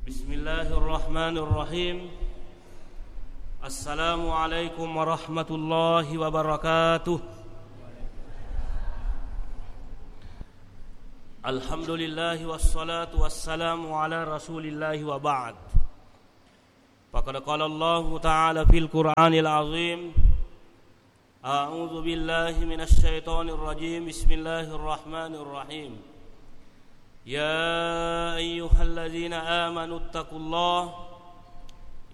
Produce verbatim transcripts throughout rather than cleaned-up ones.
بسم الله الرحمن الرحيم. السلام عليكم ورحمة الله وبركاته. الحمد لله والصلاة والسلام على رسول الله وبعد. فقد قال الله تعالى في القرآن العظيم: أعوذ بالله من الشيطان الرجيم. بسم الله الرحمن الرحيم. يا أيها الذين آمنوا اتقوا الله،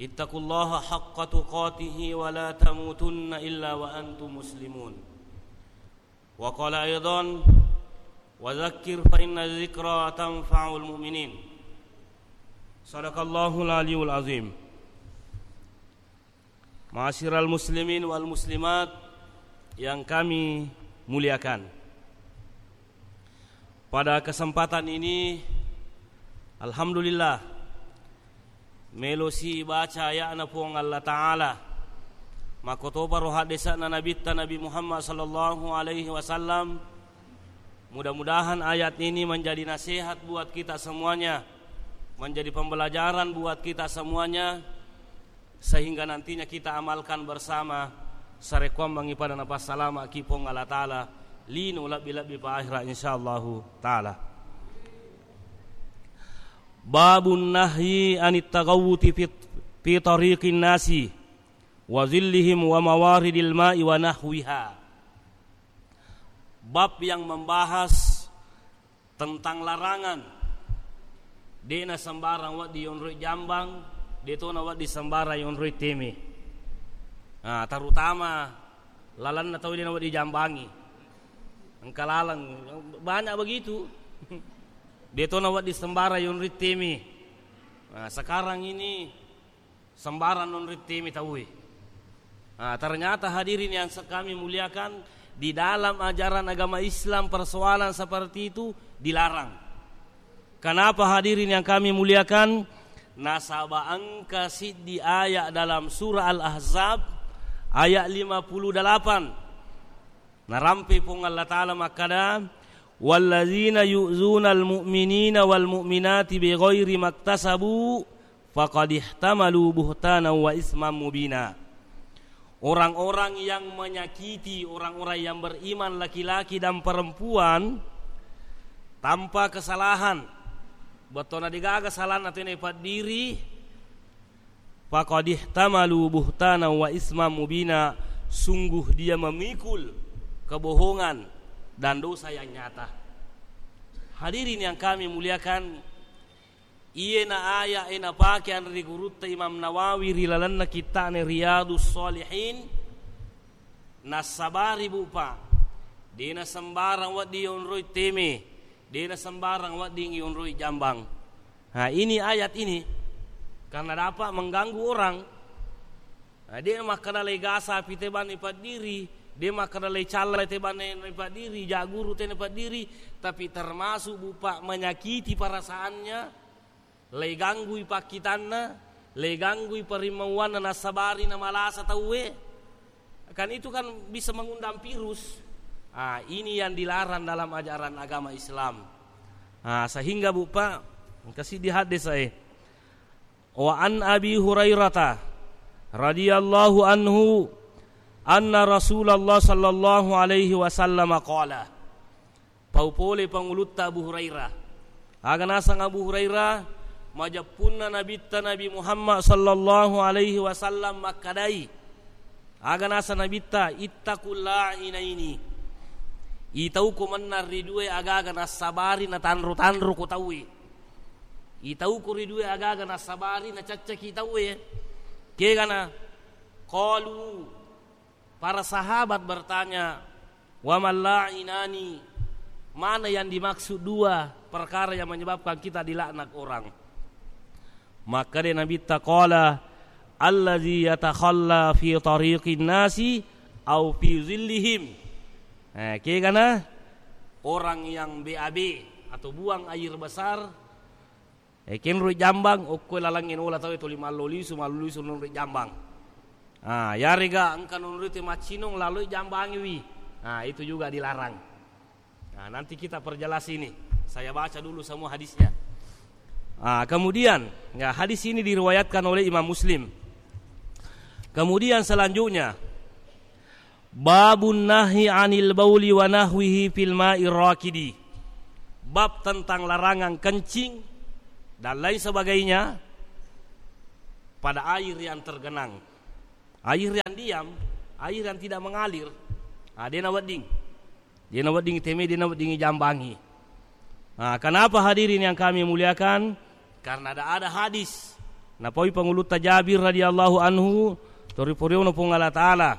اتقوا الله حق تقاته ولا تموتن إلا وأنتم مسلمون. وقال أيضا: وذكر فإن الذكرى تنفع المؤمنين. صدق الله العلي العظيم. Ma'asyiral muslimin wal muslimat yang kami muliakan. Pada kesempatan ini, alhamdulillah, melosi baca aya'na Puang Allah Ta'ala. Makkotoparo haddesa'na Nabitta Nabi Muhammad sallallahu alaihi wasallam. Mudah-mudahan ayat ini menjadi nasihat buat kita semuanya, menjadi pembelajaran buat kita semuanya, sehingga nantinya kita amalkan bersama, sarekkuammengngi pada napassalama'ki Puang Allah Ta'ala, lino lebbi-lebbi pa akhirat, insyaallahu ta'ala. Babun nahyi anit taghawwuti fi, fi tariqin nasi wa zillihim wa mawaridil ma'i wa nahwiha. Bab yang membahas tentang larangan, de'na sembarang wedding yonroi jambang, de'tona wedding sembarang yonroi teme. Nah, terutama lalenna tau de'na wedding jambangi. Engka laleng, banyak begitu. De'tona wedding sembarang yonroi teme. Nah, sekarang ini sembarang nonroi teme tauwe. Nah, ternyata hadirin yang se-, kami muliakan, di dalam ajaran agama Islam persoalan seperti itu dilarang. Kenapa, hadirin yang kami muliakan? Nasaba engka siddi ayat dalam surah Al-Ahzab ayat lima puluh delapan. Narampe Puang Allah Ta'ala makkada, "Wallazina yu'zunal mu'minina wal mu'minati bighairi maktasabu faqad ihtamalu buhtanan wa isman mubina." Orang-orang yang menyakiti orang-orang yang beriman laki-laki dan perempuan tanpa kesalahan, betona degaga salanna tena ipaddiri, faqad ihtamalu buhtanan wa isman mubina, sungguh dia memikul kebohongan dan dosa yang nyata. Hadirin yang kami muliakan, iyena aya'e napake anre gurutta Imam Nawawi ri lalenna kitta'na Riyadus Shalihin, nassabari bupa, de'na sembarang wedding yonroi teme, de'na sembarang wedding yonroi jambang. Nah, ini ayat ini karena dapat mengganggu orang. Nah, de' makkeda lai gasa pi te banne paddiri, de' makkeda lai calla te banne paddiri, jaguru te paddiri, tapi termasuk bupa menyakiti perasaannya, lai ganggui pakkitanna, lai ganggui parimmauanna, nassabari na malasa tauwe. Kan itu kan bisa mengundang virus. Ah, ini yang dilarang dalam ajaran agama Islam. Ah, sehingga bupa, engka siddi hadis ae. Wa an Abi Hurairata radhiyallahu anhu anna Rasulullah sallallahu alaihi wasallam qala. Pau pole pangulutta Abu Hurairah. Aga naseng Abu Hurairah, majeppunna Nabitta Nabi Muhammad sallallahu alaihi wasallam makkadai. Aga naseng Nabitta, "Ittaqul la'inaini." Itauko mennang ri due agaga nassabari natanro-tanro ko tauwe. Itauko ri due agaga nassabari nacaccaki tauwe. Kegana? Qalu, para sahabat bertanya, "Wa mal la'inani?" Mana yang dimaksud dua perkara yang menyebabkan kita dilaknat orang? Makkeda Nabitta, qala, "Allazi yatakhalla fi tariqin nasi au fi zillihim." Eh, kegana orang yang B A B atau buang air besar, eh, kenroi jambang, okko lalangnge nola tauwe tuli mallo lisu, mallo lisu nonroi jambang. Ah, yarega engka nonroi te maccinong laloi jambangiwi. Ah, itu juga dilarang. Nah, nanti kita perjelas ini. Saya baca dulu semua hadisnya. Ah, kemudian, ya, hadis ini diriwayatkan oleh Imam Muslim. Kemudian selanjutnya, babun nahi anil bauli wa nahwihi fil ma'ir rakidi. Bab tentang larangan kencing dan lain sebagainya pada air yang tergenang. Air yang diam, air yang tidak mengalir, ah, de' nawedding. De' nawedding iteme, de' nawedding ijambangi. Nah, kenapa hadirin yang kami muliakan? Karena ada, ada hadis. Napaui pangulutta Jabir radhiyallahu anhu, tori poriona Puang Allah Ta'ala.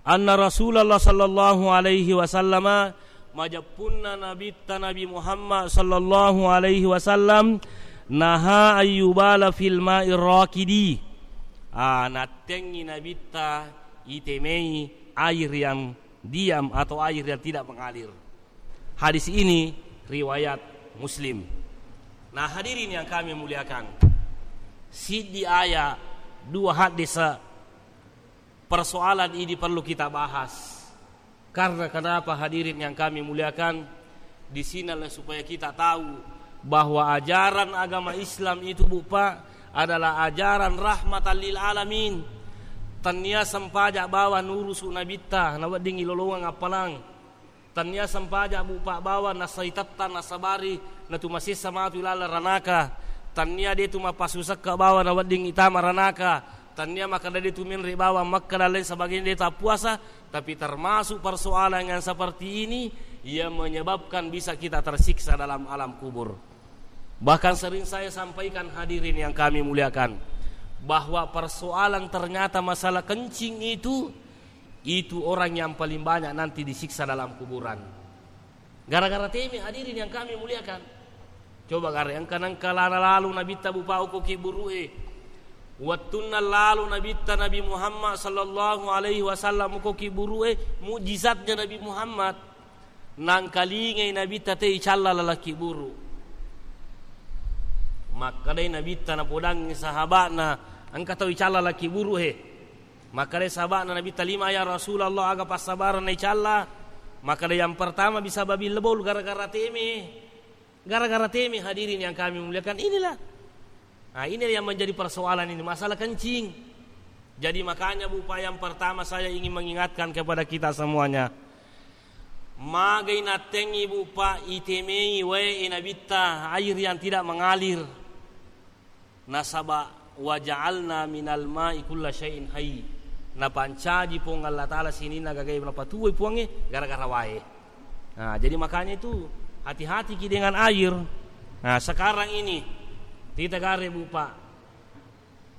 Anna Rasulullah sallallahu alaihi wasallama, majeppunna Nabitta Nabi Muhammad sallallahu alaihi wasallam, naha ayyubala fil ma'ir rakidi. Ah, nattengngi Nabitta itemei air yang diam atau air yang tidak mengalir. Hadis ini riwayat Muslim. Nah, hadirin yang kami muliakan, siddi ayat, dua hadis, persoalan ini perlu kita bahas. Karena kenapa, hadirin yang kami muliakan? Di sinilah supaya kita tahu bahwa ajaran agama Islam itu, Bu, Pak, adalah ajaran rahmatan lil alamin. Tennia sempaja bawang nurusu Nabitta, nawedding ilolongeng appalang. Tennia sempaja, Bu, Pak, bawang nasaitetta, nasabari, natumasessa matu ilalang ranaka. Tennia de' tu mappasusekka bawang nawedding itama ranaka. Tennia makkeda de' tu menre' bawang makkeda lain sebagainya, de' tappuasa, tapi termasuk persoalan yang seperti ini yang menyebabkan bisa kita tersiksa dalam alam kubur. Bahkan sering saya sampaikan, hadirin yang kami muliakan, bahwa persoalan ternyata masalah kencing itu, itu orang yang paling banyak nanti disiksa dalam kuburan. Gara-gara teme, hadirin yang kami muliakan. Coba gare, engka nengka lana lalu Nabitta, Bu, Pak, okko kibburu'e. Wettunna lalu Nabitta Nabi Muhammad sallallahu alaihi wasallam okko kibburu'e, mujizatnya Nabi Muhammad. Nangkalingai Nabitta te icalla laleng kibburu. Makkedai Nabitta napodangngi sahaba'na, engka tau icalla laleng kibburu he. Makkedai sahaba'na Nabitta, "Lima ya Rasulullah, aga passabarenna icalla?" Makkeda, "Yang pertama bisa babi lebol gara-gara teme." Gara-gara teme, hadirin yang kami muliakan, inilah. Nah, ini yang menjadi persoalan ini, masalah kencing. Jadi makanya, Bu, Pak, yang pertama saya ingin mengingatkan kepada kita semuanya. Magai nattengngi, Bu, Pak, itemei wae Nabitta, air yang tidak mengalir. Nasaba, "Wa ja'alna minal ma'i kulla syai'in hayy." Napancaji Puang Allah Ta'ala sininna gagae, napatuwoi Puangnge gara-gara wae. Nah, jadi makanya itu hati-hati ki dengan air. Nah, sekarang ini kita gare, Bu, Pak,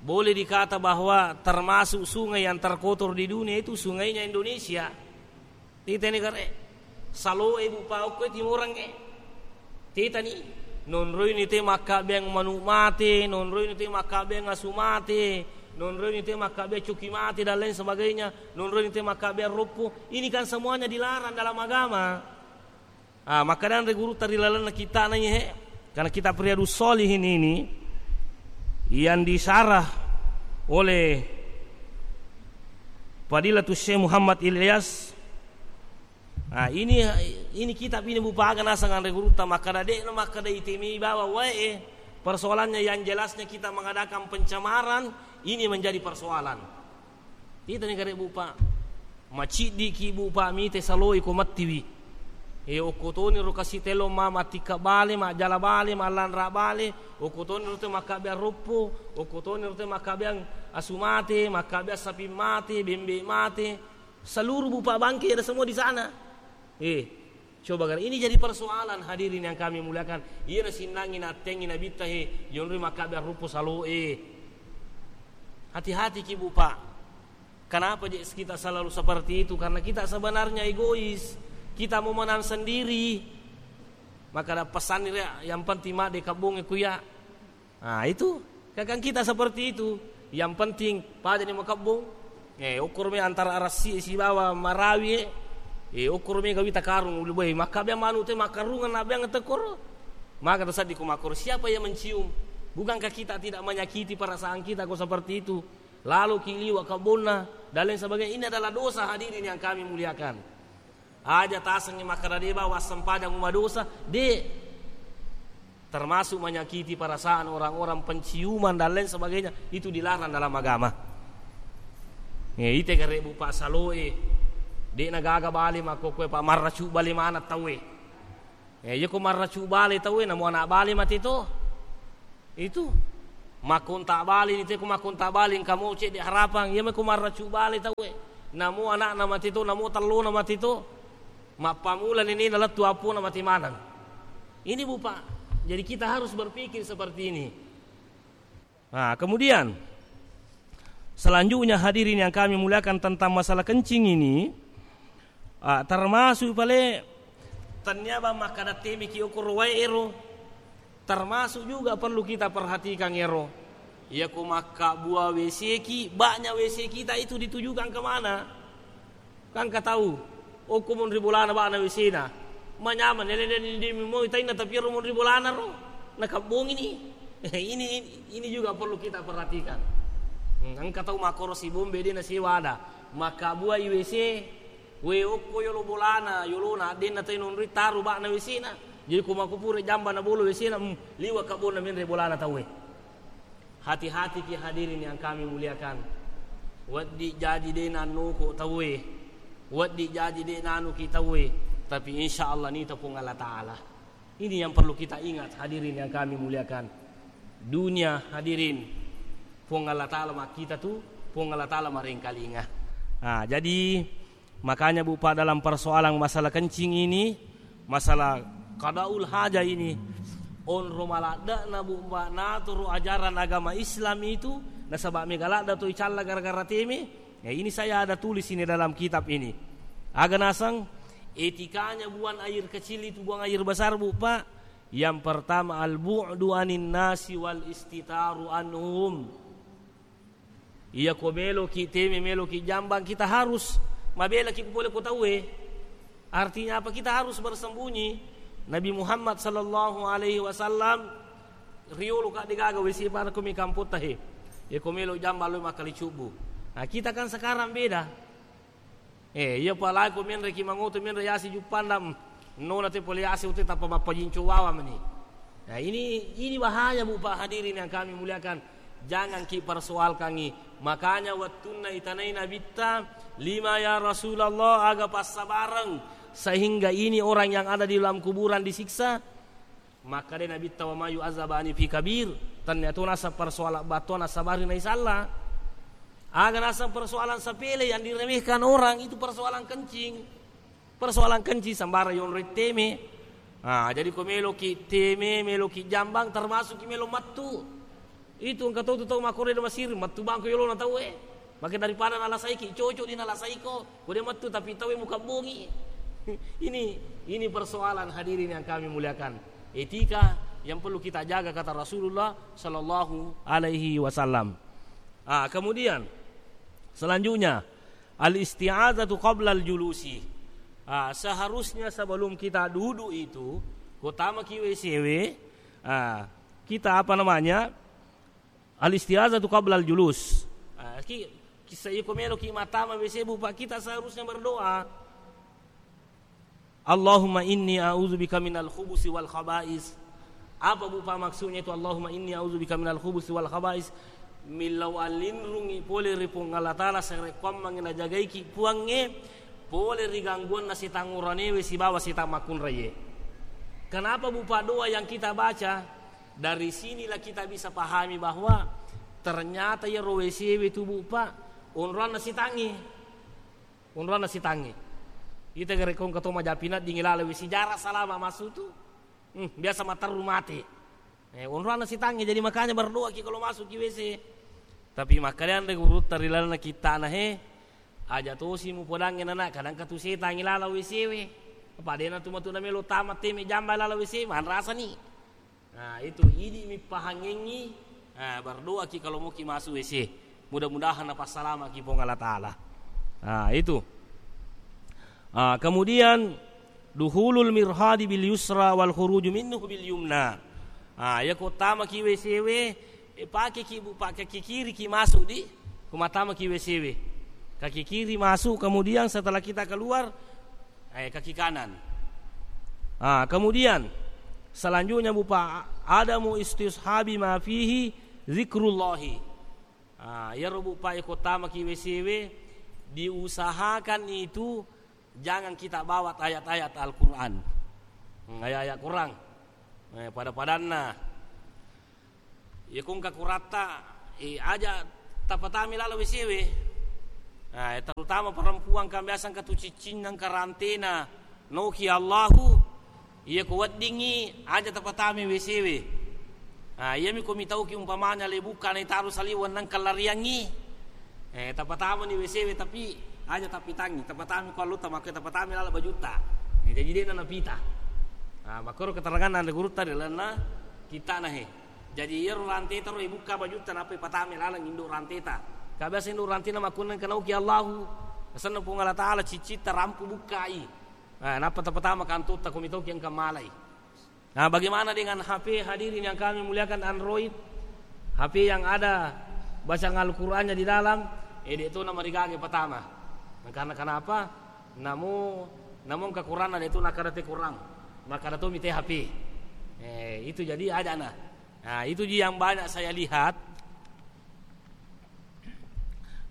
boleh dikata bahwa termasuk sungai yang terkotor di dunia itu sungainya Indonesia. Titani gare. Saloe, Bu, Pak, okko Timorang e. Titani. Nonroini te makkabbeang manu mate, nonroini te makkabbeang asu mate, nonroini te makkabbeang coki mate dan lain sebagainya, nonroini te makkabbeang roppo. Ini kan semuanya dilarang dalam agama. Ah, makkedanre gurutta ri lalenna kitta'na iye, karena kitab Riyadus Shalihin ini yang disarah oleh Fadilatus Syekh Muhammad Ilyas. Nah, ini, ini kitab ini, Bu, Pak, aga naseng anre gurutta makkeda de'na makkeda itemei bawang wae. Persoalannya yang jelasnya kita mengadakan pencemaran, ini menjadi persoalan. Titani gare, Bu, Pak. Maciddiki, Bu, Pak, mite saloi ko mattiwi. E, okko toni ro kasi tello ma-, mattikka bale, majjala bale, mallanra bale, okko toni ro te makkabbeang roppo, okko toni ro te makkabbeang asu mate, makkabbeang sapi mate, bembe mate. Seluruh, Bu, Pak, bangke ada semua di sana. Eh, coba gare, ini jadi persoalan, hadirin yang kami muliakan. Iya nasinnangi nattengngi Nabitta he, yonroi makkabbeang roppo saloe. Hati-hati ki, Bu, Pak. Kenapa je kita selalu seperti itu? Karena kita sebenarnya egois. Kita mau menang sendiri. Maka ada pesan ini, yang penting mak de kabbonge kuya. Nah, itu. Kadang kita seperti itu. Yang penting, pada ni makabbong. Eh, ukur me antara arasi sibawa marawi, eh. Eh, ukur me gawi takarung, ulu boy. Maka biang manu te makarungan, na biang tekor. Maka tersaddi ku makor. Siapa yang mencium? Bukankah kita tidak menyakiti perasaan kita kok seperti itu? Lalu kiliwa kabbonna dan lain sebagainya. Ini adalah dosa, hadirin yang kami muliakan. Aja tasengngi makkeda de bawang sempajang madosa, de. Termasuk menyakiti perasaan orang-orang, penciuman dan lain sebagainya, itu dilarang dalam agama. Eh, ite gare' Bu Pak saloe, de'na gaga bale makkokkoe, Pak, marracu' bale maneng tauwe. Eh, iya ko marracu' bale tauwe, namo ana' bale mate to. Itu. Makkonta' bale ni te, ko makkonta' bale engka mo cedde' harapang, iya me ko marracu' bale tauwe. Namo ana'na mate to, namo tellona mate to. Mappamula nenena lettu appona mate maneng. Ini, Bu Pak. Jadi kita harus berpikir seperti ini. Nah, kemudian selanjutnya, hadirin yang kami muliakan, tentang masalah kencing ini, ah, termasuk pale tennia bang makkada temiki okoro wae ero, termasuk juga perlu kita perhatikan ero. Iya ko makkabua W C ki, baknya W C kita itu ditujukan kemana? Kan engka tau, okko monri bolana ba'na W C-na. Manyameng, nene-nene di moi tainna, tapi ero monri bolana ro, nakabbongini. Ini, ini juga perlu kita perhatikan. Hmm, engka tau makkoro sibombe de' nasewa ada. Makkabuai W C, we okko yolo bolana, yolona, addenna tai nonroi taru ba'na W C-na. Jadi ko makko pura jamba nabolo W C-na, hmm, liwa kabbonna menre bolana tauwe. Hati-hatiki hadirin yang kami muliakan. Wedding jaji de' nannoko tauwe. Wedding jaji de' nanuki tauwe. Tapi insya Allah nita Puang Allah Ta'ala. Ini yang perlu kita ingat, hadirin yang kami muliakan. Dunia, hadirin, Puang Allah Ta'ala makkita tu, Puang Allah Ta'ala marengkalinga. Nah, jadi makanya, Bu Pak, dalam persoalan masalah kencing ini, masalah qadaul hajah ini, onro maladde'na, Bu Pak, naturu ajaran agama Islam itu, nasaba' mega ladde' to icalla gara-gara teme. Ya, ini saya ada tulis ini dalam kitab ini. Aga naseng etikanya buang air kecil itu, buang air besar, Bu Pak. Yang pertama, al-bu'du anin nasi wal istitaru anhum. Iya ko meloki teme, meloki jambang, kita harus mabelaki pole ko tauwe. Artinya apa? Kita harus bersembunyi. Nabi Muhammad sallallahu alaihi wasallam riolo ka de' gaga W C, pada ko mi kampotta he. Iya ko melo jambang lo makkali cubbu. Nah, kita kan sekarang beda. Eh, iya, apalagi ko menre ki mangoto, menre yasi juppandam. Nona te pole yasi ute tappa mappajinco wawa meni. Nah, ini, ini bahaya, Bu Pak, hadirin yang kami muliakan. Jangan ki persoalkangi. Makanya wettunna itanai Nabitta, "Lima ya Rasulullah, aga passabareng sehingga ini orang yang ada di dalam kuburan disiksa?" Makkeda Nabitta, "Wa ma yu'adzabani fi kabir." Tennia to naseng persoalan battoa nassabari naisalla. Aga naseng persoalan sepele yang diremehkan orang itu persoalan kencing. Persoalan kencing sembarang yonroi teme. Ah, jadi ko meloki teme, meloki jambang, termasuk ki melo mattu. Itu engka tau tu tau makkoro de' masiri, mattu bangko yolona tauwe. Maka daripada nalasaiki, cocok di nalasaiko. Ko de' mattu tapi tauwe mukabbongi. Ini, ini persoalan, hadirin yang kami muliakan. Etika yang perlu kita jaga, kata Rasulullah sallallahu alaihi wasallam. Ah, kemudian selanjutnya, al-isti'adzatu qablal julusi. Ah, seharusnya sebelum kita duduk itu, ko tamaki W C W, ah, kita apa namanya? Al-isti'adzatu qablal julus. Ah, ki, kissa iko meloki mattama W C, Bu Pak, kita seharusnya berdoa. "Allahumma inni a'udzubika minal khubusi wal khaba'is." Apa, Bu Pak, maksudnya itu, "Allahumma inni a'udzubika minal khubusi wal khaba'is"? Millau allinrungi pole ri Puang Allah Ta'ala, sarekkoammengngi najagaiki Puangnge pole ri gangguanna setang uranewe sibawa setang makkunraie. Kenapa, Bu Pak, doa yang kita baca? Dari sinilah kita bisa pahami bahwa ternyata iyaro W C W tu, Bu Pak, onroanna sitangnge. Onroanna sitangnge. Ita gare' ko engka to majapi naddingi laleng W C, jarang salama masuk tu. Hmm, biasa matteru mate. Eh, onroanna sitangnge, jadi makanya berdoa ki kalau masuk ki W C. Tapi makkedanre gurutta ri lalenna kittana he, aja tosi mupodangnge nana, kadang katu setangngi laleng W C we. Apa dena tu matu namelo tama teme jamba laleng W C, manrasani. Nah, itu idi mi pahangengi, ah, berdoa ki kalau mau ki masuk W C. Mudah-mudahan napassalama ki Puang Allah Ta'ala. Nah, itu. Ah, kemudian duhulul mirhadi bil yusra wal khuruju minhu bil yumna. Ah, ya ko tama ki W C we, eh, pakai ki, Bu Pak, kaki kiri ki masuk di, ko matama ki W C we. Kaki kiri masuk, kemudian setelah kita keluar, eh, kaki kanan. Ah, kemudian selanjutnya, Bu Pak, Adamu istishabi ma fihi zikrullahi. Ah, iyaro Bu Pa, iko tamaki W C W, diusahakan itu jangan kita bawa ayat-ayat Al-Quran. Hmm, ayat-ayat Quran. Eh, pada-padanna. Iya, ko engka kuratta, eh, aja tapatami laleng W C W. Nah, terutama perempuan kan biasa engka tu ciccinna, engka rantena, noki Allahu. Iya, ko weddingngi aja tapatami W C W. Nah, iyami ko mitauki umpamanya le bukka na itaru saliweng nengka lariangngi. Eh, tapatamani W C W, tapi aja tapitangngi, tapatami ko allotta, makko tapatami laleng bajutta. Eh, jaji de'na napita. Nah, makkoro keterangan anre gurutta ri lalenna kittana he. Jadi iyaro ranteta ro ibukka bajutta nappa ipatame laleng indo ranteta. Ka biasa indo rantena makkunna engka nauki Allahu. Asenna Puang Allah Taala ciccitta rampu bukkai. Nah, nappa tapatama kantotta ko mitauki engka malai. Nah, bagaimana dengan H P hadirin yang kami muliakan, Android? H P yang ada bacaan Al-Qur'annya di dalam, eh, de' to namarigaga patama. Nah, karena kenapa? Namo, namo engka Qur'anna de' to nakkada te Qur'an. Makkada to mi te H P. Eh, itu jadi ajana. Nah, itu ji yang banyak saya lihat.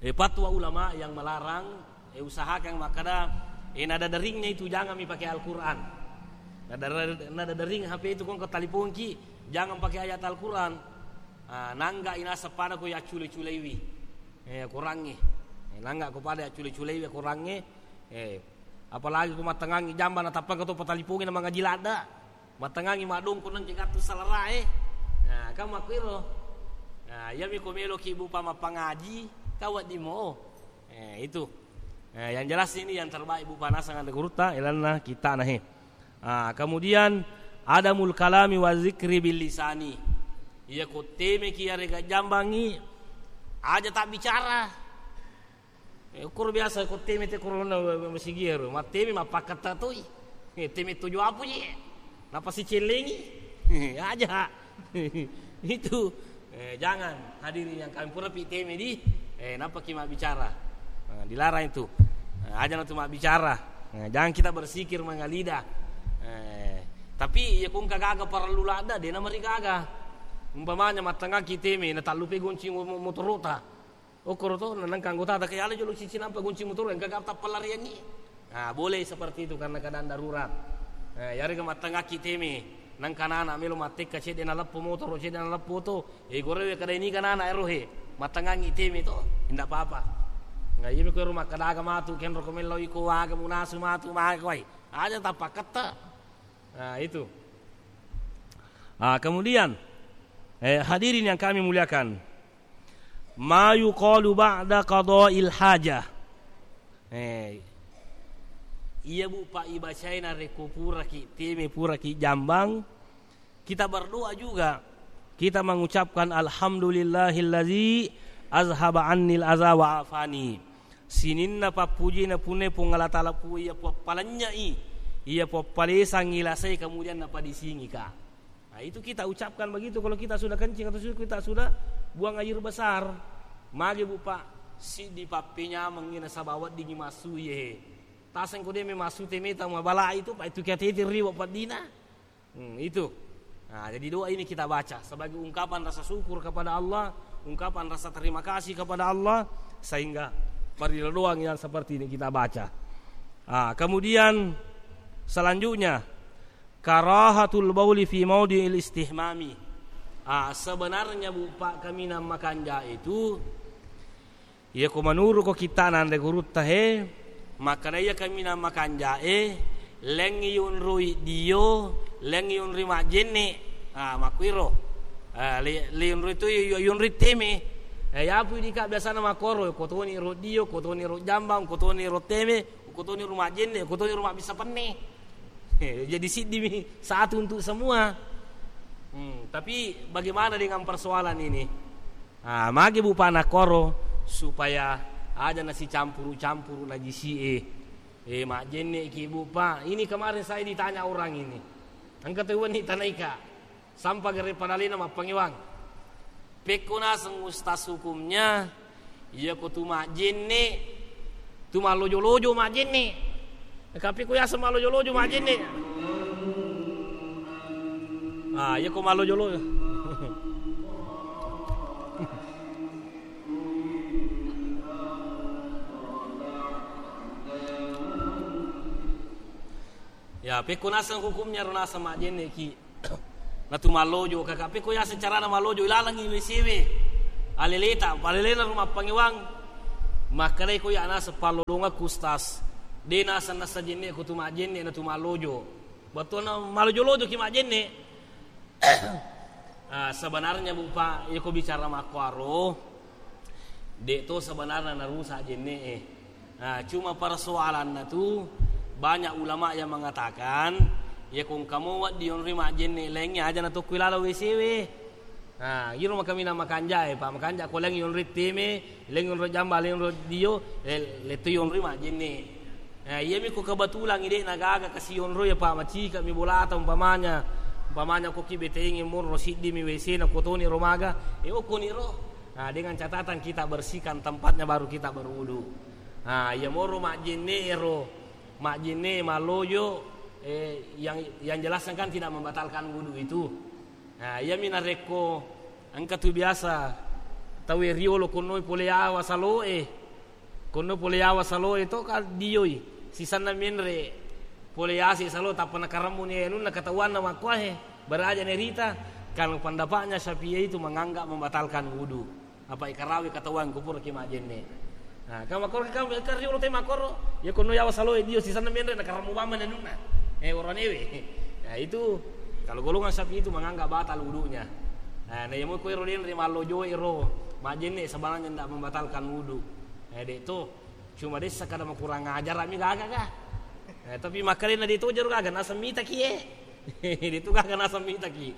Eh, fatwa ulama yang melarang, eh, usahakan makkada, eh, nada deringnya itu jangan mi pakai Al-Quran. Nada, nada dering H P itu, ko engka taliponki, jangan pakai ayat Al-Quran. Ah, nangga inaseng pada ko yaccule-culeiwi. Eh, Qurangnge. Eh, nangga ko pada yaccule-culeiwi Qurangnge. Eh, apalagi ko mattengangi jamba na tappa ko to patalipongi na mangaji ladda. Mattengangi maddongko nengke gattu salarae. Nah, kan makkuiro. Nah, iyami ko meloki Bu Pa mappangaji, ka wedding mo. Eh, itu. Eh, yang jelas ini yang terbaik Bu Pa naseng anre gurutta, ilanna kittana he. Ah, kemudian adamul kalami wa zikri bil lisani. Iya ko temeki yarega jambangi, aja tabbicara. Eh, ukkoro biasa ko teme te korona masigiero, matteme mappakketta toi. Eh, teme tojo apu je. Napasicellengi. Eh, aja. Itu. Eh, jangan, hadirin yang kami pura pi teme di, eh, napaki mabbicara. Nah, dilarang itu. Nah, aja natu mabbicara. Nah, jangan kita bersikir mangalida. Eh, tapi iya ko engka gaga parellu ladda, de' namarigaga. Umpamanya mattengaki teme, natallupe gonci mo-, mo-, motorota. Okkoro to, na-, nengka anggotata ke, "Ala jolo cici nampa gonci motoro, engka ga tappalariangngi." Nah, boleh seperti itu karena keadaan darurat. Nah, yarega mattengaki teme, nengka nana melo mattekka cedde naleppo motoro, cedde naleppo to. Eh, gorewe kada ini kan anak ero he, mattengangi teme to, ndak apa-apa. Nah, iya ko ero makkadaga matu, kenro ko mello iko aga munasu matu, maka wai. Aja tappakketta. Nah, itu. Ah, kemudian, eh, hadirin yang kami muliakan, ma yuqalu ba'da qada'il hajah. Eh, iya Bu Pa ibacai narekko puraki teme, puraki jambang, kita berdoa juga. Kita mengucapkan, "Alhamdulillahillazi azhaba annil aza wa afani." Sininna pappujina punna Puang Allah Taala, pu-, iya puappalennyai, iya puappalesangi lasai, kemudian napadisingika. Nah, itu kita ucapkan begitu kalau kita sudah kencing atau sudah, kita sudah buang air besar. Mage Bu Pa, siddi pappenyamengngi nasaba weddingngi massu iye. Taseng ko de' memang massu teme tau mabala itu, Pa, itu kiatete riwa paddina. Hmm, itu. Nah, jadi doa ini kita baca sebagai ungkapan rasa syukur kepada Allah, ungkapan rasa terima kasih kepada Allah, sehingga parila doang yang seperti ini kita baca. Ah, kemudian selanjutnya, karahatul bauli fi maudi'il istihmami. Ah, sebenarnya Bu Pa, kaminang makanja itu, iya ko menuru ko kittana anre gurutta he, makkada iya kaminang makanjae, lengngi yunrui dio, lengngi yunrui majjenne. Ah, makkuiro. Ah, li-, liyunrui tu yu-, yunrui teme. Eh, yapu dika biasana makkoro, ko toni ro dio, ko toni ro jambang, ko toni ro teme, ko toni ro majjenne, ko toni ro mabbissa penne. Eh, jadi siddi mi satu untuk semua. Hmm, tapi bagaimana dengan persoalan ini? Ah, magi Bu Pa nakkoro supaya aja nasicampuru-campuru najisi'e. Eh, majjenne ki Bu Pa. Ini kemarin saya ditanya orang ini. Engka tu wenni tanaika. Sampa gare padalena mappangewang. Pekko naseng ustaz hukumnya, iya ko tu majjenne, tu mallojo-lojo majjenne. Tapi ko yaseng mallojo-lojo majjenne. Ah, iya ko malojolo. Ya, pekko naseng hukumnya ro naseng majjenne ki. Natu mallojo, kaka pekko yaseng carana mallojo, ilalengi W C we. Aleleta, palelena rumah pangewang. Makkedai ko ya naseng pallolongakku, Ustaz. De naseng nasa jenne ko tu majjenne natu mallojo. Bettuanna mallojo-lojo ki majjenne. Ah, sebenarnya, Bu, Pak, iya ko bicara makkuaro, de to sebenarnya narusak jenne e. Ah, cuma persoalanna tu banyak ulama yang mengatakan, iya ko engka mo wedding yonroi majjenne laingnge aja natokko ilala W C we. Ah, iro makaminang makanja e, Pak, makanja ko laing yonroi teme, laing yonroi jamba, laing yonroi dio, le-, letto yonroi majjenne. Eh, iyami ko kebetulan ide na gaga kasi yonroi, Pak, macika mi bolata umpamanya. Umpamanya ko ki betengi moro siddi mi W C na ko toni ro maga, e okkoni ro. Nah, dengan catatan kita bersihkan tempatnya baru kita berwudu. Nah, iya moro majjenne ero, majjenne mallojo, eh, yang, yang jelasnya kan tidak membatalkan wudu itu. Nah, iyami narekko engka tu biasa tau e riolo konnoi pole yawa salo e. Konno pole yawa salo e to ka dioi. Sisanna menre pole yase salo tappa nakaremmu ni anunna katawanna makkuahe. Baraja nerita, kalau pendapatnya Syafi'i itu menganggap membatalkan wudu. Apa ikarawi katahuan kupura ki majjenne. Nah, kama koro kama kari ulo tema koro, ya kono yawa salo e dio sisanna menre na karamu bama nenuna. Eh, orang ewe. Nah, itu kalau golongan Syafi'i itu menganggap batal wudunya. Nah, na yamo ko ero denre mallojo ero majjenne sebenarnya ndak membatalkan wudu. Eh, dek to. Cuma dessa kada makurang ajar mi gaga ga. Eh, tapi makkalena de to jero gaga nasang mita ki e. Itu gaga nasang mita ki.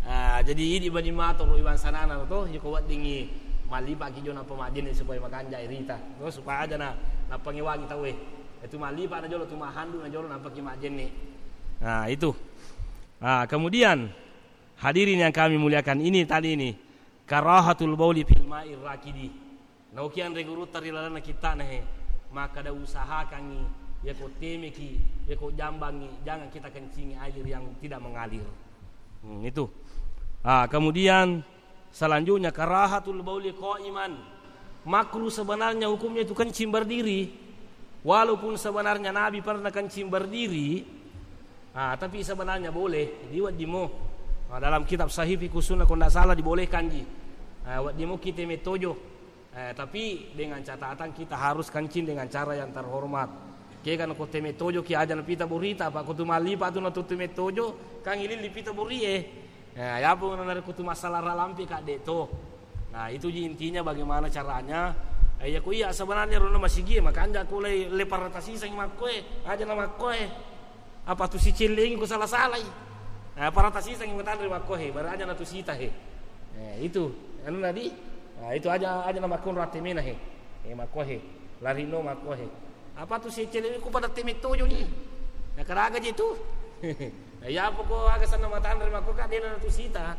Ah, jadi idi bani mato ro iwan sanana to, iko weddingi mallipa ki jona pemajjenne supaya makanja irita. To supaya aja na napangewangi tau e. Itu mallipa na jolo tu mahandu na jolo napaki majjenne. Nah, itu. Ah, kemudian hadirin yang kami muliakan, ini tadi ini karahatul bauli fil ma'ir rakidi. Nauki anre gurutta ri lalenna kittana he, makkada usahakangngi, yako temeki, yako jambangngi, jangan kita kencingi air yang tidak mengalir. Hmm, itu. Ah, kemudian selanjutnya karahatul bauli qaiman. Makruh sebenarnya hukumnya itu kencing berdiri. Walaupun sebenarnya Nabi pernah kencing berdiri, ah, tapi sebenarnya boleh, di weddimo. Ah, dalam kitab Sahih Fiqhus Sunnah, kalau tidak salah, dibolehkan ji. Ah, weddimo kita metojo. Eh, tapi dengan catatan kita harus kencing dengan cara yang terhormat. Kega nako teme tojo ki aja napita borita, apa ko tu mallipa tu natu teme tojo, kan ililli pita borie. Eh, yapo narekko tu masalah ralampe ka de to. Nah, itu ji intinya bagaimana caranya. Eh, ya ko iya sebenarnya rona masigi, makanja ko le, le parata siseng makkoe, aja na makkoe. Apa tu sicellengi ko sala-salai. Nah, parata siseng matanre makkohe, bara aja na tu sita he. Eh, itu. Anu nadi, nah, itu aja, aja na makkonro attemena he. Eh, makkohe. Larino makkohe. Apa tu sicellengi ko pada teme tojo ni. Nah, karaga je tu. Nah, ya apa ko aga sanna matanre makko ka dena na tu sita.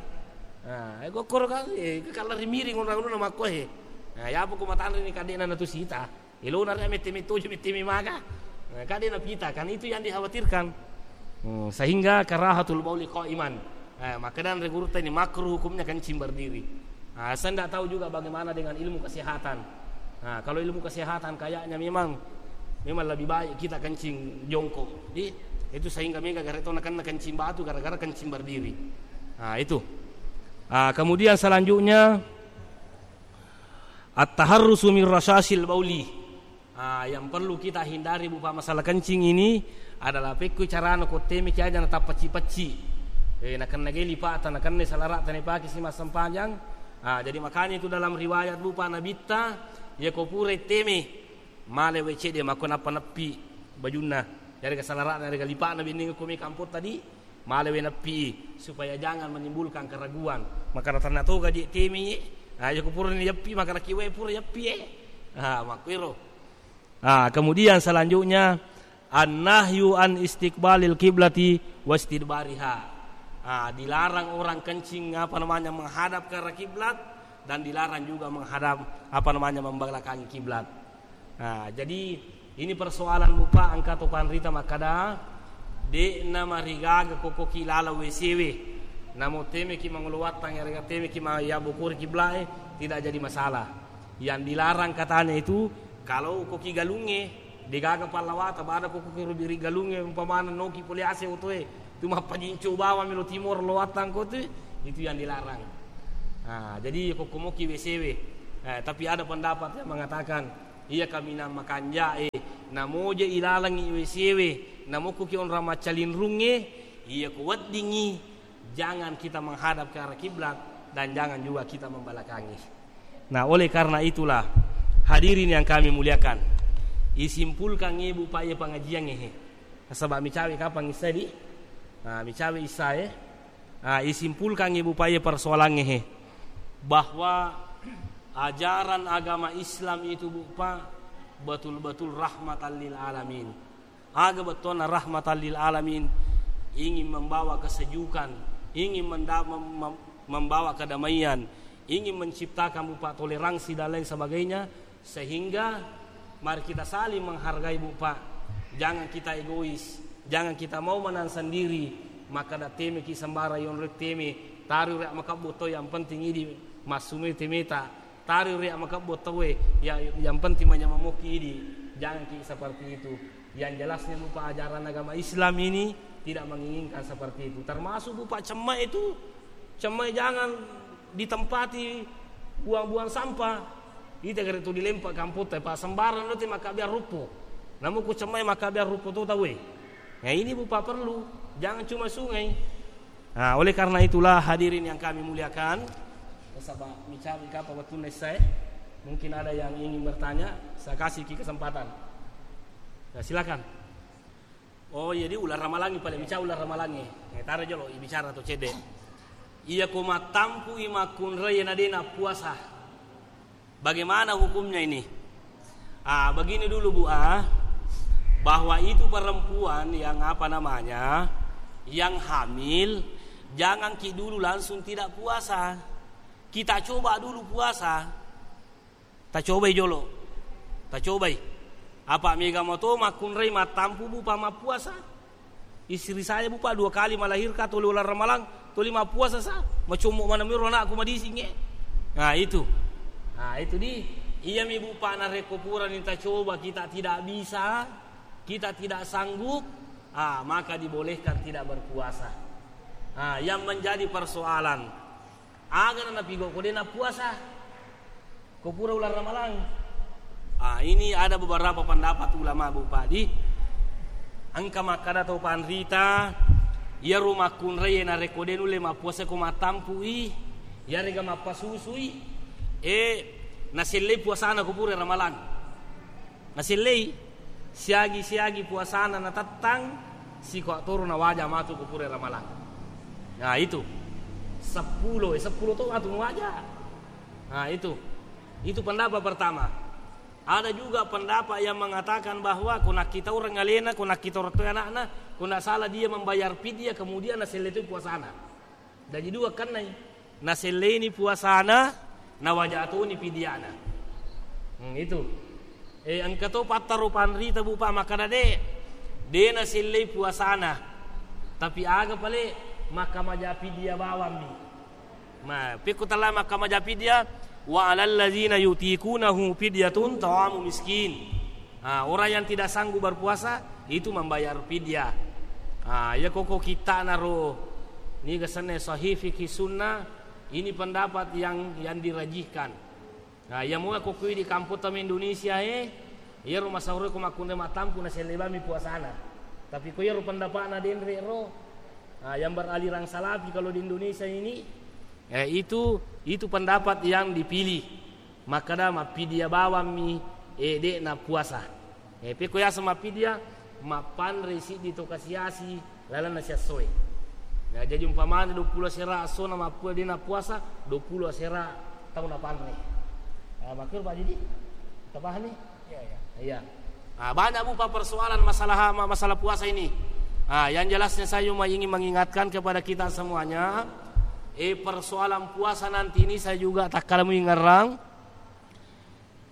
Nah, eh, gokkoro ka, eh, ka lari miring orang-orang makkohe. Nah, ya apa ko matanre ni ka dena na tu sita. Ilona ria mette-mette tojo, mette-mette maga. Nah, kade napita, kan itu yang dikhawatirkan. Hmm, sehingga karahatul bauli qaiman. Eh, maka dan regurta ini makruh hukumnya kencing berdiri. Nah, saya ndak tahu juga bagaimana dengan ilmu kesehatan. Nah, kalau ilmu kesehatan kayaknya memang memang lebih baik kita kencing jongkok. Jadi, itu sehingga mega garetona kena kencing batu gara-gara kencing berdiri. Nah, itu. Ah, kemudian selanjutnya at-taharrusu min rasyasil bauli. Ah, yang perlu kita hindari, Bu, Pak, masalah kencing ini adalah pekko carana ko teme ki aja natappa pacci-pacci. Eh, nakenna gai lipata, nakenna salarata napake si massempajang. Ah, jadi makanya itu dalam riwayat, Bu, Pak, Nabitta, ya ko pura teme male wae cedde makko nappa neppi bajunna. Jadi ke salarata, dari ke lipana binding ko me kampung tadi, male wae neppi supaya jangan menimbulkan keraguan. Maka tanna toga je teme, ah, ya ko pura ni yappi, maka laki wae pura yappi, eh. Ah, makkuiro. Ah, kemudian selanjutnya, an-nahyu an istiqbalil kiblati wastidbariha. Ah, dilarang orang kencing, apa namanya, menghadap ke arah kiblat, dan dilarang juga menghadap, apa namanya, membelakangi kiblat. Ah, jadi ini persoalan, Bu, Pak, engka to panrita makkada, de'na marigaga ko koki laleng W C we. Namo temeki mangolo wattang, yarega temeki ma-, yabokori kiblae, tidak jadi masalah. Yang dilarang katanya itu, kalau koki galungnge, degaga pallawata, pada koki rubiri galungnge, umpamana noki pole ase otoe, tu mappajinco bawang melo timor lo wattang ko tu, itu yang dilarang. Nah, jadi kokkomoki W C W. Eh, tapi ada pendapat yang mengatakan, iya kaminang makanjae, namoje ilalangi W C W, namokkoki onrang maccalinrungnge, iya ko weddingi, jangan kita menghadap ke arah kiblat dan jangan juga kita membelakangi. Nah, oleh karena itulah, hadirin yang kami muliakan, isimpulkan ibu pak ye pengajian ngehe. Nasaba micawe kapang isai di? Nah, micawe isai. Nah, isimpulkan ibu pak ye persoalan ngehe. Bahwa ajaran agama Islam itu, bu pak, betul-betul rahmatan lil alamin. Aga bettuanna rahmatan lil alamin, ingin membawa kesejukan, ingin menda-, mem-, mem-, membawa kedamaian, ingin menciptakan, bu pak, toleransi dan lain sebagainya, sehingga mari kita saling menghargai, bu pak. Jangan kita egois, jangan kita mau menang sendiri. Maka da teme ki sembara yonrek teme, tari rek makabbo to, yang penting idi massumete meta. Tari ria makebbo tauwe, ya, yang penting manyameng mokki idi, jangan ki seperti itu. Yang jelasnya, bu pak, ajaran agama Islam ini tidak menginginkan seperti itu. Termasuk, bu pak, cemme itu, cemme jangan ditempati buang-buang sampah. Ita kare tu dilempa kampotta, pak, sembarang nanti maka biar rupo. Namun ku cemme maka biar rupo tu tauwe. Nah, ini, bu pak, perlu. Jangan cuma sungai. Nah, oleh karena itulah, hadirin yang kami muliakan, nasaba micawi kapang wettunna essae, mungkin ada yang ingin bertanya, saya kasih ki kesempatan. Ya, silakan. Oh, jadi ular ramalangi, paling micawi ular ramalangi. Eh, taro jolo, ibicara to cedde. Iya ko mattampu i makkunrai na dena puasa. Bagaimana hukumnya ini? Ah, begini dulu, bu ah, bahwa itu perempuan yang apa namanya, yang hamil, jangan ki dulu langsung tidak puasa. Kita coba dulu puasa. Ta cobai jolo. Ta cobai. Apa mega mato makkunrai mattampu, bu pak, mappuasa? Istri saya, bu pak, dua kali melahirkan, toli ular ramalang, toli mappuasa sa, macommo maneng miro anakku madisingnge. Nah, itu. Nah, itu di. Iya mi, bu pak, narekko purani ta coba, kita tidak bisa, kita tidak sanggup, ah, maka dibolehkan tidak berpuasa. Ah, yang menjadi persoalan, aga na napigo ko de nappuasa? Ko pura ular ramalang. Ah, ini ada beberapa pendapat ulama, bu pak, di. Engka makkada tau panrita, iyaro makkunrai narekko de nulle mappuasa ko mattampu i, yarega mappasusui, eh, nasellei puasana ko pura ramalang. Nasellei siagi-siagi puasana natettang, siko toro nawaja matu ko pura ramalang. Nah, itu. Seppulo, eh, seppulo to matu nawaja. Nah, itu. Itu pendapat pertama. Ada juga pendapat yang mengatakan bahwa ko nakkita orang alena, ko nakkita orang tua anakna, ko ndak salah dia membayar fidyah, kemudian naselle tu puasana. Jadi dua kennai. Naselleni puasana, nawaja toni fidyana. Hmm, itu. Eh, engka to pattaro panrita, bu pak, makkada de, de nasellei puasana. Tapi aga pale makkamaja fidyah bawammi. Ma, pekko tala makkamaja fidyah, wa alal ladzina yutiqunahu fidyatun ta'amu miskin. Ah, orang yang tidak sanggup berpuasa itu membayar fidyah. Ah, ya koko kita naro ni kesannya sahih fikih sunnah, ini pendapat yang, yang dirajihkan. Nah, iya mua ko kui di kampung tama Indonesia e, iyaro masauro ko makkunrai mattampu naselle bami puasana. Tapi ko iyaro pendapatna denre ro, nah, yang beraliran salafi kalau di Indonesia ini, eh, itu, itu pendapat yang dipilih. Makkada mappidia bawammi, eh, de'na puasa. Eh, pekko yaseng mappidia, mappanre siddi to kasi-asi lalenna siassoe. Ya, jadi umpamana duappulo asera assona mappua de nappuasa, duappulo asera tau napanre. Ah, makkero Pak Didi? Tapahani? Iya, iya. Iya. Ah, banyak, Bu, Pak, persoalan masalah, ma-, masalah puasa ini. Ah, yang jelasnya saya cuma ingin mengingatkan kepada kita semuanya, eh, persoalan puasa nanti ini saya juga takkala muingerrang.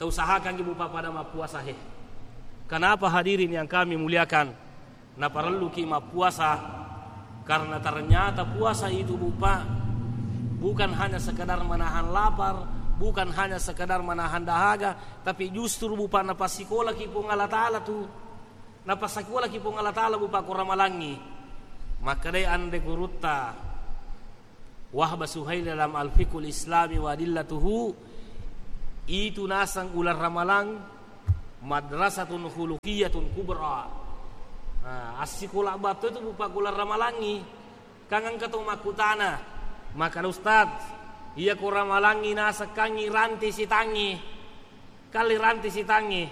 Tausahakangngi, Bu, Pa, pada mappuasa, he. Kenapa, hadirin yang kami muliakan? Naparelluki mappuasa? Karena ternyata puasa itu, Bu, Pak, bukan hanya sekedar menahan lapar, bukan hanya sekedar menahan dahaga, tapi justru, Bu, Pak, napasikolaki Puang Allah Ta'ala tu. Napasikolaki Puang Allah Ta'ala, Bu, Pak, ko ramalangngi. Makkedai anre gurutta, Wahbah Suhail dalam Al-Fiqhul Islami wa Adillatuhu, itu naseng uleng ramalang madrasatun khuluqiyatun kubra. Nah, assikola batto itu, Bu, Pak, uleng ramalangngi. Kan engka to makkutana, makkeda, "Ustaz, iya ko ramalangngi naseng kangngi ranti sitangngi." Kalli ranti sitangngi.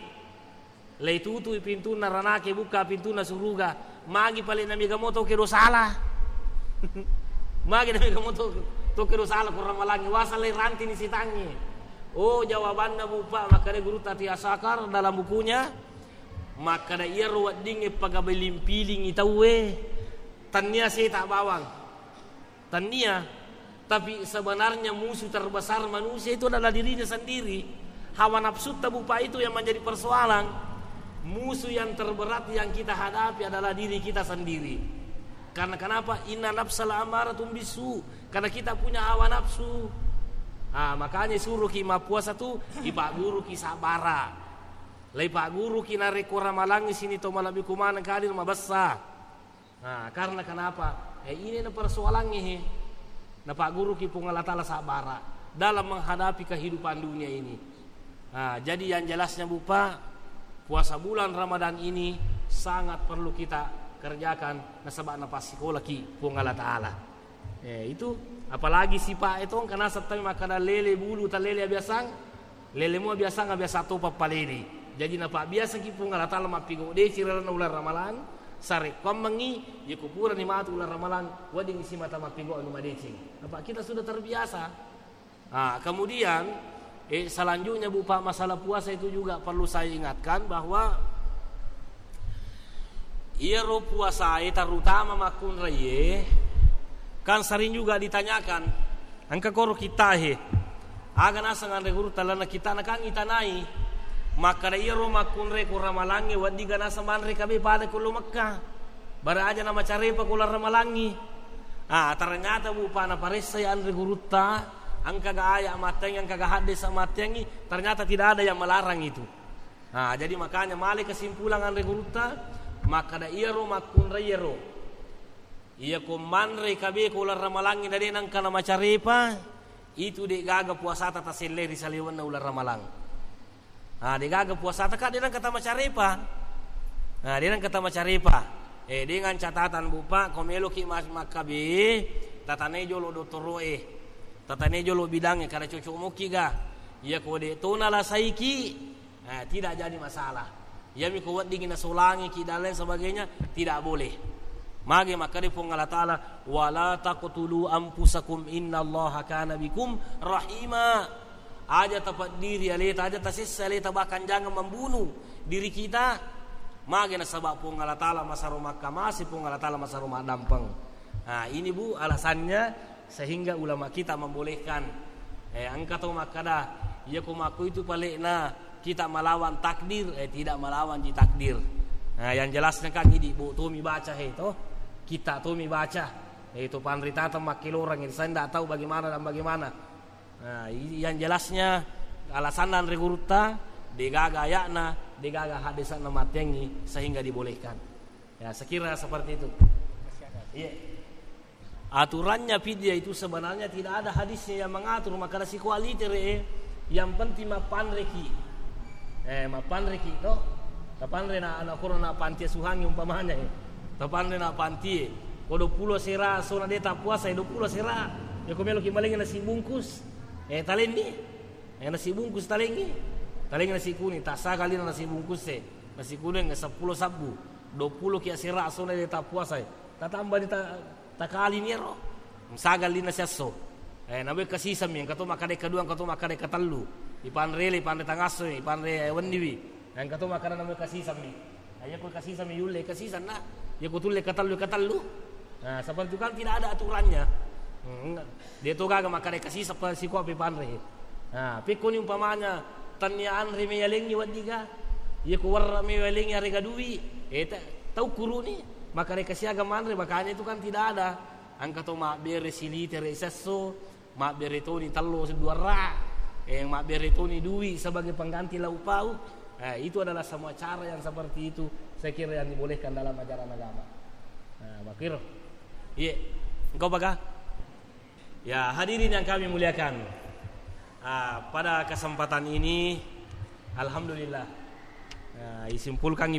Leitutui pintunna ranake, bukka pintunna suruga. Magi pale na mega mo to kedo sala. Magi na mega mo to, to kedo sala ko ramalangngi. Wasa lei ranti ni sitangngi. Oh, jawabanna, Bu, Pak, makkeda gurutta Ati Asakar dalam bukunya, makkeda iyaro weddingnge pagabiling-pilingi tauwe, tennia seta bawang. Tennia, tapi sebenarnya musuh terbesar manusia itu adalah dirinya sendiri. Hawa nafsutta, Bu, Pak, itu yang menjadi persoalan. Musuh yang terberat yang kita hadapi adalah diri kita sendiri. Karena kenapa? Inna nafsal ammaratun bisu. Karena kita punya hawa nafsu. Ah, makanya suruh ki mappuasa tu, ipaguru ki sabara. Lai paguru ki narekko ramalangngi sini to malebbi kumaneng kadir mabessa. Nah, karena kenapa? Eh, ini na persoalannya, he. Napagguruki Puang Allah Ta'ala sabbara dalam menghadapi kehidupan dunia ini. Nah, jadi yang jelasnya, Bu, Pak, puasa bulan Ramadan ini sangat perlu kita kerjakan, nasaba napasikolaki Puang Allah Ta'ala. Eh, itu apalagi sipa itu kan naseng tau makkeda lele bulu talele abiasang. Lelemu biasang, biasa to pappaleni. Jadi napabbiasaki Puang Allah Ta'ala mappigau deci ri lalenna uleng Ramalang, sarekkuammengngi, yako purani matu uleng Ramalang, wedding simata mappigau anu madeceng. Apa kita sudah terbiasa. Ah, kemudian, eh, selanjutnya, Bu, Pak, masalah puasa itu juga perlu saya ingatkan bahwa iyaro puasae, terutama makkunraie, kan sering juga ditanyakan, engka koro kittahe, aga naseng anre gurutta lalenna kittana kan itanai, makkeda iyaro makkunrai ko ramalangnge weddingga naseng manre kabe pada ko lo Mekka, bara aja namacarepa ko uleng Ramalangngi. Ah, ternyata, Bu, Pak, naparessai anre gurutta, engkaga aya matteangngi, engkaga haddesa matteangngi, ternyata tidak ada yang melarang itu. Nah, jadi makanya male kesimpulan anre gurutta, makkeda iyaro makkunrai iyaro, iyako manre kabe ko uleng Ramalangngi na de nengka namacarepa, itu de gaga puasata taselle ri saliwenna uleng Ramalang. Nah, de gaga puasata ka de nengka tamacarepa. Nah, de nengka tamacarepa. Eh, dengan catatan, Bu, Pak, ko meloki mas-, makkabe, tatanai jolo dottoroe, tatanai jolo bidangnge, kada cocok mokki ga. Iyako de to nalasaiki, Eh, tidak jadi masalah. Iyami ko weddingngi nasolangiki dan lain sebagainya, tidak boleh. Mage makkeda Puang Allah Ta'ala, "Wala taqtulu anfusakum innallaha kana bikum rahima." Aja tapeddiri aleta, aja tasessa aleta, bahkan jangan membunuh diri kita. Mage nasaba Puang Allah Ta'ala masaro makkamase, Puang Allah Ta'ala masaro maddampeng. Nah, ini, Bu, alasannya sehingga ulama kita membolehkan. Eh, engka to makkeda, iya ko makko itu palekna kita melawan takdir, eh, tidak melawan ji takdir. Nah, yang jelasnya kan ini, Bu, tomi baca, he, to. Kita tomi baca. Eh, itu panritata makkelorang, saya tidak tahu bagaimana dan bagaimana. Nah, i-, yang jelasnya alasanna anre gurutta, degaga ayatna, degaga hadisna matteangngi sehingga dibolehkan. Ya, sekira seperti itu. Iya. Aturannya fidyah itu sebenarnya tidak ada hadisnya yang mengatur, maka ada sikualitere, eh, yang penting mappanreki. Eh, mappanreki to. Tapanre na anak kurang na panti suhangi umpamanya, eh. Tapanre na panti, eh. Ko dua puluh sera, sona de tapuasa, eh, dua puluh sera. Ya, ko meloki malengi nasi bungkus. Eh, talenni. Eh, nasi bungkus talengi. Talengi nasi kuning, tasagallina nasi bungkus, eh. Nasi kuning, eh, seppulo sabbu. Dua puluh kia sera, sona de tapuasa, eh. Tatamba di ta-, takalini ero. Sagallinna siesso. Eh, nawe kasisemmi, engka to makkada kedua, engka to makkada ketellu. Ipanre le, ipanre tangasso, ipanre wenniwi. Engka to makkada nawe kasisemmi. Nah, iya ko kasisemmi yulle, kasisenna. Iya ko tulle ketellu, ketellu. Nah, seperti itu kan tidak ada aturannya. Hmm, de to gaga makkada kasiseng pa sikoa pe panre. Nah, pekkoni umpamanya tennia anre me yalengi weddiga. Iya ko werre me yalengi arega dui. Eh, ta-, tau kuruni. Maka rekasiaga manre, makanya itu kan tidak ada. Engka to mabbere silitere sesso, mabbere toni tello seduarra, eh, mabbere toni dui sebagai pengganti lauk pauk. Eh, itu adalah semua cara yang seperti itu, saya kira, yang dibolehkan dalam ajaran agama. Nah, makiro. Iya, engkau baka? Ya, hadirin yang kami muliakan, ah, pada kesempatan ini, alhamdulillah, ah, isimpulkan